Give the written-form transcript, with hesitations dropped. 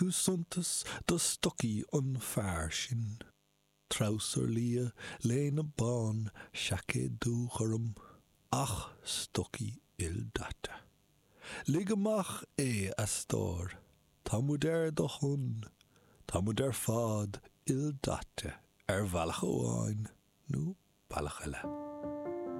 Tú suntas do stocaí an fear sin. Treabhsar liath, léine bán, seaicéad dúghorm, ach stocaí ildaite. Lig amach é, a stór. Tá muid ar do shon. Tá muid ar fad ildaite ar bhealach amháin nó bealach eile.